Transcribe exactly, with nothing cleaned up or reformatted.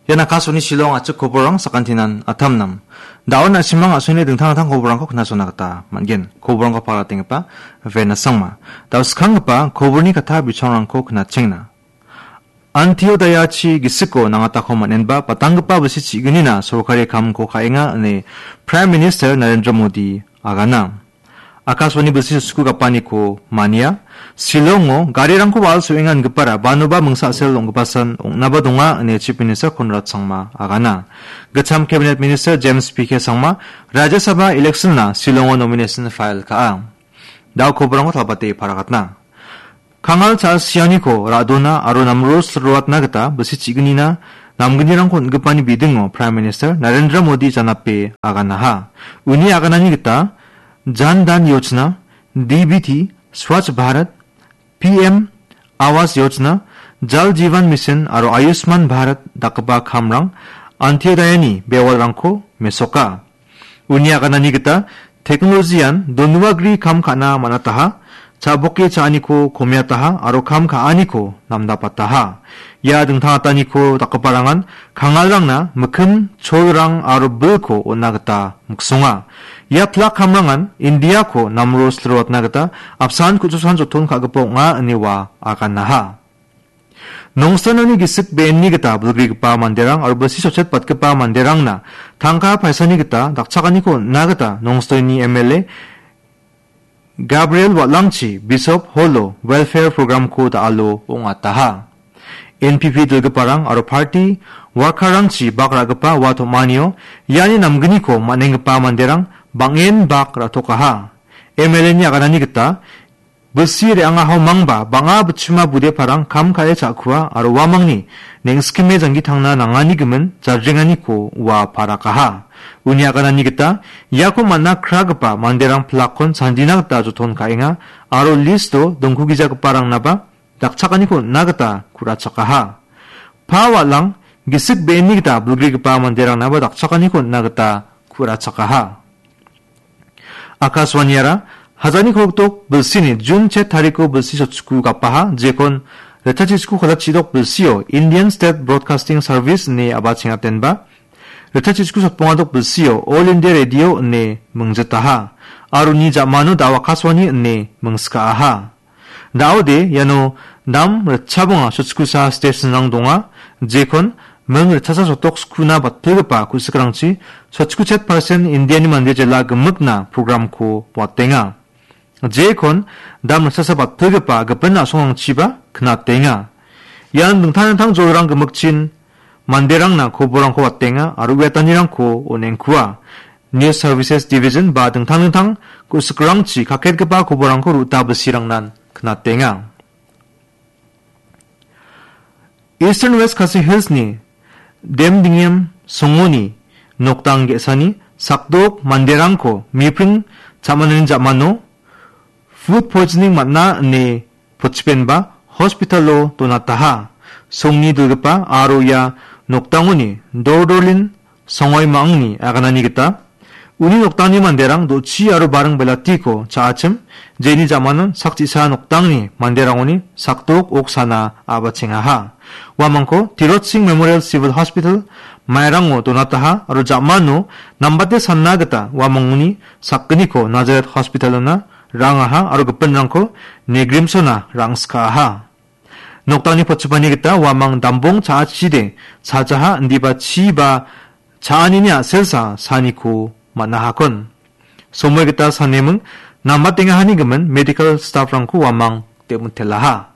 Ian Akashvani Shillong a·chik koborrang sakantinan atamnam. Da·o na·simang a·songni dingtang dingtang koborrangko knasona gita man·gen. Koborrangko palatenggipa Vena Sangma. Da·o skanggipa koborni katha bichongrangko knatchengna. Antiodayachi gisiko nangatako man·enba batanggipa bilsi chignina sorkari kamko ka·enga ine Prime Minister Narendra Modi agana. Akashvani bilsi sosku gapaniko mania, Shillongo garirangko wa·al so·enga ingipara banoba mingsa a·sel ong·gipasan ong·naba donga ine Chief Minister Conrad Sangma agana. Gitcham Cabinet Minister James P K Sangma Rajya Sabha election-na Shillongo nomination file ka·a. Da·o koborrangko talbate parakatna. Kangal cha·sianiko ra·dona aro namro silroatna gita bilsi chignina namgnirangko on·gipani bidingo Prime Minister Narendra Modi janape aganaha. Uni aganani gita Jan Dhan Yojana, D B T, Swachh Bharat, P M Awas Yojana, Jal Jeevan Mission aro Ayushman Bharat dakgipa kamrang Antyodayani bewalrangko mesoka. Uni aganani gita teknolojian donua gri kam ka·na man·ataha, cha·boke cha·aniko komiataha aro kam ka·aniko namdapataha. Ia dingtang ataniko dakgiparangan kangalrangna mikkim cholrang aro bilko on·na gita miksonga. Ia plak kamrangan Indiako namro silroatna gita apsan ku·chosan joton ka·gipa ong·a ine ua aganaha. Nongstoinoni gisik be·enni gita bilgrigipa manderang aro bilsi sotchet batgipa manderangna tangka paisani gita dakchakaniko on·na gita Nongstoini M L A Gabriel Walangchi Bishop Holo Welfare Programko da·alo ong·ataha. N P P dilgiparang aro party workerrangchi bak ra·gipa ua tom·anio iani namgniko man·enggipa manderang bang·en bak ra·tokaha. M L A-ni aganani gita bilsi re·angahaomangba bang·a bitchima budeparang kam ka·e cha·kua aro uamangni neng·skime janggitangna nangani gimin jadrenganiko ua parakaha. Uni aganani gita iako man·a kragipa manderang plakkon sandina gita joton ka·enga aro listo dongkugijagiparangna ba dakchakaniko on·na gita ku·rachakaha. Pa Walang gisik be·enni gita bilgrigipa manderangnaba dakchakaniko on·na gita ku·rachakaha. Akashvaniara hajani kolgdok bilsini Jun chet tariko bilsi sochiku gapaha, jekon retachichiku kolachidok bilsio Indian State Broadcasting Service ine abachengatenba, retachichiku sotbongadok bilsio All India Radio ine mingjitaha, aro uni ja·mano da·o Akashvani ine mingskaaha. Da·ode iano dam ritchabonga sochkusa stesonrang donga, jekon ming ritchasa sotok skuna batpilgipa ku·sikrangchi sochku chet persen Indiani mande jela gimikna programko watenga. Jekon dam ritchasa batpilgipa gipin a·songrangchiba knatenga. Ian dingtang dingtang jolrang gimikchin manderangna koborangko watenga aro uiatanirangko on·engkua. News Services Division ba dingtang dingtang ku·sikrangchi kaketgipa koborangko ruta bilsirangnan knatenga. Eastern West Khasi Hillsni Demdingem songoni nokdang ge·sani sakdok manderangko mipring cha·manani ja·mano food poisoning man·a ine pochipenba hospitalo donataha. Songni dilgipa aro ia nokdangoni dordorlin songoimangni aganani gita uni nokdangni manderang do·chi aro baring belatiko cha·achim, jeni ja·manon sak ji·sa nokdangni manderangoni sakdok oksana a·bachengaha. Uamangko Tirot Singh Memorial Civil Hospital mairango donataha aro ja·mano nambate sanna gita uamangoni sakgniko Nazareth Hospitalona rangaha aro gipinrangko negrimsona rangskaaha. Nokdangni potchipani gita uamang dambong cha·achide chajaha indiba chi ba cha·anini a·selsa saniko man·ahakon. Somoi gita saneming nambatengahani gimin medical staff-rangko uamang demotelaha.